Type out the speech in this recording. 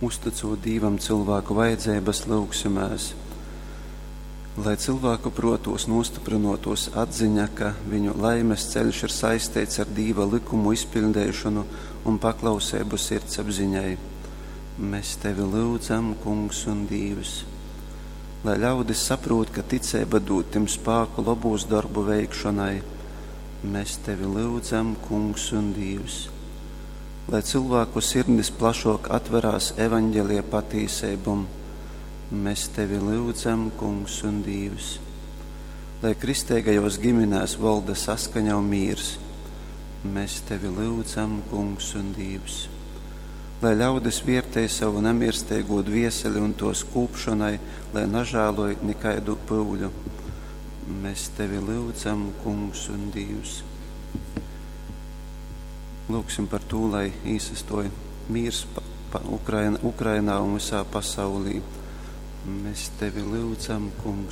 Uztycūt Dīvam cylvāku vajadzeibas, lyugsimēs. Lai cylvāku prōtūs nūstyprynōtūs atziņa, ka viņu laimes ceļš ir saisteits ar Dīva lykumu izpiļdeišonu un paklauseibu sirdsapziņai. Mes Tevi lyudzam, Kungs un Dīvs. Lai ļaudis saprūt, ka ticeiba dūd tim spāku lobūs dorbu veikšonai. Mes Tevi lyudzam, Kungs un Dīvs. Lai cylvāku sirdis plašōk atverās Evaņgelija patīseibom. Mes Tevi lyudzam, Kungs un Dīvs. Lai kristeigajōs giminēs volda saskaņa un mīrs. Mes Tevi lyudzam, Kungs un Dīvs. Lai ļaudis viertej savu namirsteigū dvieseli un tōs kūpšonai, lai nažāloj nikaidu pyuļu. Mes Tevi lyudzam, Kungs un Dīvs. Lūgsim par tū, lai īsastoj mīrs pa, pa Ukraina, Ukrainā un visā pasaulī. Mēs Tevi lyudzam, Kungs.